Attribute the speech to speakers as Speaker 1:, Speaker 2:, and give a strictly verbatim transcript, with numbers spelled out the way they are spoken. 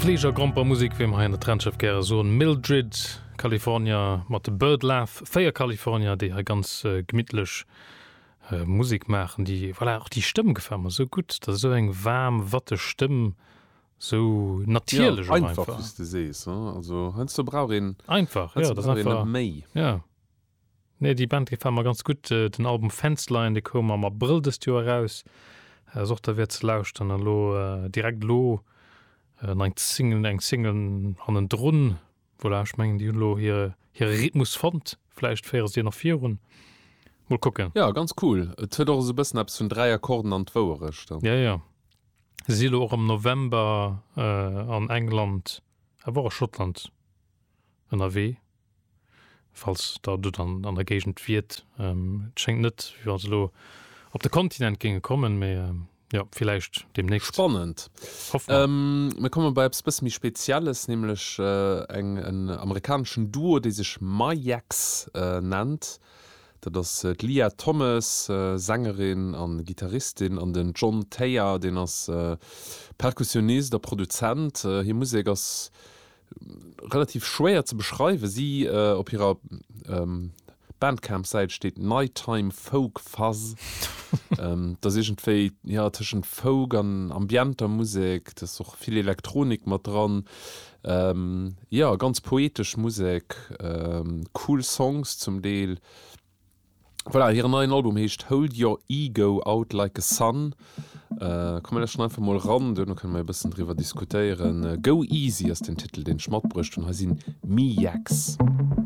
Speaker 1: Fleegergrompermusek, wéi mer hei an der Trendschëff gäre soen. Mildred, California mat de Bird Laugh, véier Kalifornier, déi hei ganz gemittlech Musek maachen, déi, voilà, och déi Stëmm gefält mer esou gutt, dat ass esou eng waarm, watteg Stëmm, esou natierlech
Speaker 2: och einfach. Einfach, wéi s de sees, also heiansdo brauch een
Speaker 1: einfach, jo, dat ass einfach net méi. Jo. Nee, déi Band gefält mer ganz gutt. Den Album Fenceline, dee koum am Abrëll dëst Joer eraus, ass och derwäert ze lauschteren. An elo direkt elo nach eng Single, eng Single hannendrun. Voilà, ech mengen, déi hunn elo hire hire Rhythmus fonnt. Vläicht féiere se deen nach virun. Mol kucken.
Speaker 2: Jo, ganz cool. Et huet och esou e bëssen eppes vun Dräi Akkorden an d'Wouerecht.
Speaker 1: Jo, jo. Se si elo och am November an England, awer och a Schottland ënnerwee. Falls der do dann an der Géigend wiert. Et schéngt net, wéi wa se elo op de Kontinent géinge kommen, mee jo, villäicht deemnächst.
Speaker 2: Spannend.
Speaker 1: Hoffe mer.
Speaker 2: Mir komme bei eppes bësse méi Spezielles, nämlech eng en amerikaneschen Duo, dee sech Miyax nennt. Dat ass d'Leah Thomas, Sängerin a Gittaristin, an den John Thayer, deen ass Perkussionist a Produzent. Hir Musek ass relativ schwéier ze beschreiwen. Si op hirer Bandcamp-Säit steet Nighttime Folk Fuzz. Dat ass iergendwéi, jo, tëschent Folk an ambienter Musek. Do ass och vill Elektronik mat dran. Jo, ganz poetesch Musek, cool Songs zum Deel. Voilà, hiren neien Album heescht Hold Your Ego Out Like a Sun. Komm mir lauschteren einfach mol eran, duerno kënne mer e bëssen driwwer diskutéieren. Go Easy ass den Titel, deen ech matbruecht hunn. Hei sinn Miyax.